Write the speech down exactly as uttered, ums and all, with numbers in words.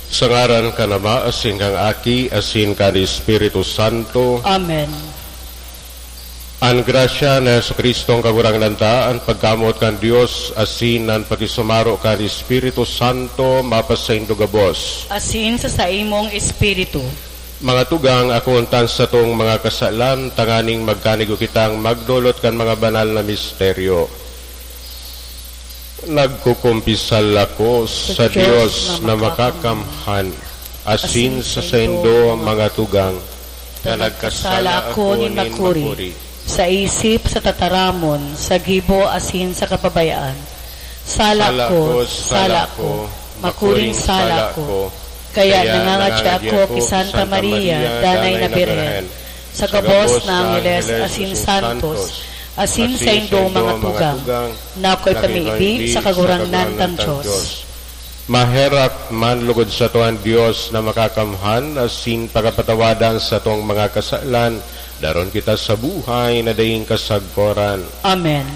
Sa ngaran kan Ama, asin kan Aki, asin kan Espiritu Santo. Amen. An grasya ni Jesu-Cristo, an Kagurangnan ta, an pagkamoot kan Dios, asin an pakisumaro kan Espiritu Santo, mapasaindo gabos. Asin sa saimong espiritu. Mga tugang, akoon ta an satong mga kasalan, tanganing magkanigo kitang magdolot kan mga banal na misteryo. Nagkukumpisal ako sa Sa Diyos Diyos na na makakamhan, asin sa saindo, mga tugang, na nagkasala ako nin makuri, sa isip, sa tataramon, sa gibo, asin sa kapabayaan. Sala ko, sala ko, makuring sala ko. Kaya nangangadya ako ki Santa Maria, Danay na Birhen, sa gabos na angheles asin santos, asin saindong mga tugang, na akoy pamibi sa Kagurangnan tang Dios. Maherak man lugod sato an Dios na makakamhan asin pakapatawadan satong mga kasalan, daron kita sa buhay na daing kasagkoran. Amen.